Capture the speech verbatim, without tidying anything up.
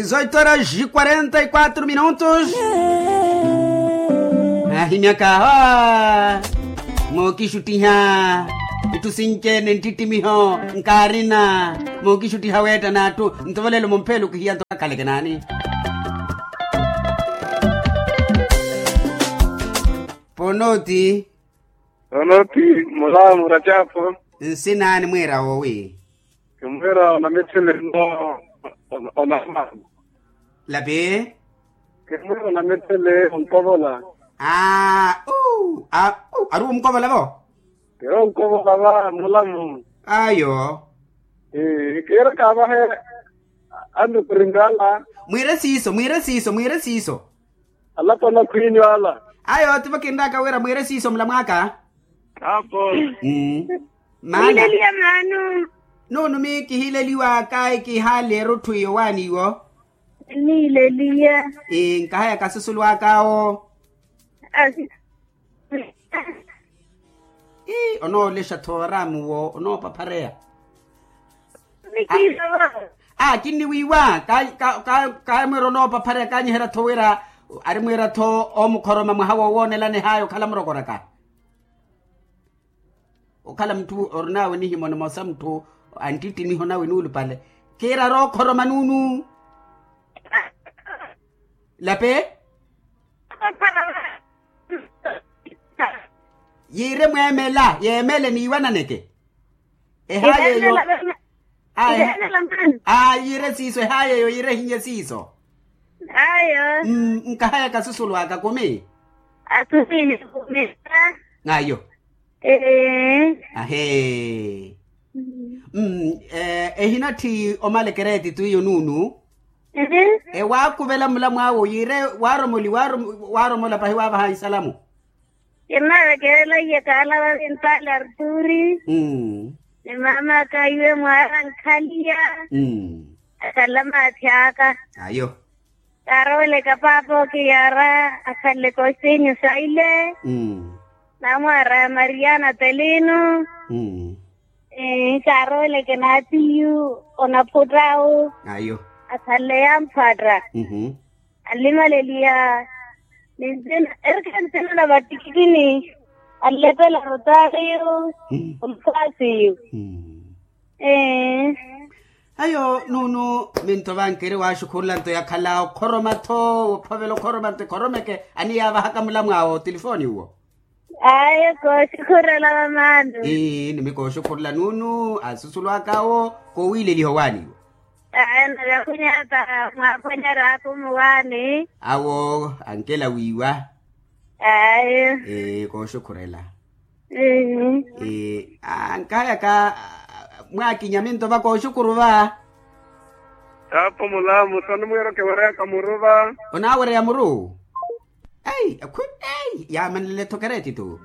Zoito horas e quarenta e quatro minutos. Ahimyaka aho mookixuttiha itthu sinci-ene nttittimiho nkaarina. Mookixuttiha weetta n'atthu nto valelo mumpheelo kihiya nto kakhaleke naani? Ponoti. Ponoti. Mulamu racapo. Nsinaani mwiira woowi? Kimwiira onamithele no onamani. Lapi. Kimwiira onamithele onkovola. Aa uu aa uu ari onkovola vo? Kiri onkovola va mulamu. Ayo. Kiira kaavahe. Annukuringa ala. Mwiire siiso mwiire siiso mwiire siiso. Alapwana khwiinyu ala. Ayo tivo kinraaka wira mwiire siiso mulamu aka. Apo. Maana. Nuunumi kihileliwaka kihaali erutthu iyo waani iwo. Nileliya. Nkahaya kasusulu ak'awo. Ii onoolexa thooramu wo onoopaphareya. Aa kinniwiiwa. Kaamwiira onoopaphareya kaanyiherya-tho wira ari mwiira-tho oomukhoroma mwaha wowoonelana ehaya okhala murokoraka. Okhala mutthu orinawe nihimo nimosa mutthu anttittimiho nawe nuulupale. Kiirari okhoroma nuunu. Lape. Yiire mweemela yeemele niiwananeke. Ehaayeyo. Aa yiire siiso ehaayeyo yiire ehinye siiso. Ayo. Nkahaya kasusulu aka kumi. Asusulu kumi. Ayo. Ahee. Ehinatthi omala ekereeti twiyo nuunu. Ewaakuvela mulamu awe yiire waaromoli waaromola pahi waavaha isalamu. Kinnavekerela iye kaala vavintaali arturi. Ni maama aka iwe mwaara nkhaliya. Akhala maathi aka. Ayo. Kaarooleka paapa okiyara akhalele kooxinyu saile. Namwaara ya maria na telino. Kaarooleke n'atiyu onaphutta awo. Ayo. Akhalele yamphwatta. Anlimaleliya. Ninzina erikha nzina na vattikitini. Anlepela rotaariyo. Onfaasiyo. Ee. Ayo nuunu. Minto vankeri waaxukhurula nto yakhala okhoroma-tho. Ophovela okhoroma nto ekhoromeke aniyaavahaka mulamu awe otilifooni uwo. Ayo kooxukhurela vamaani. Ii nimi kooxukhurela nuunu asusulu ak'awo. Kowiileliha owaaniwa. Ayo nave akhunyaata mwaakhonyerya akumi owaani. Awo ankela wiiwa. Ayo. Ee kooxukhurela. Ee ankahayaka. Mwaakinya minto va kooxukuru va. Kaapo mulamu soni mwiiro kiwereyaka muru va. Onaawereya muru. Ei akhwi ei yaamanlele-tho keretitu.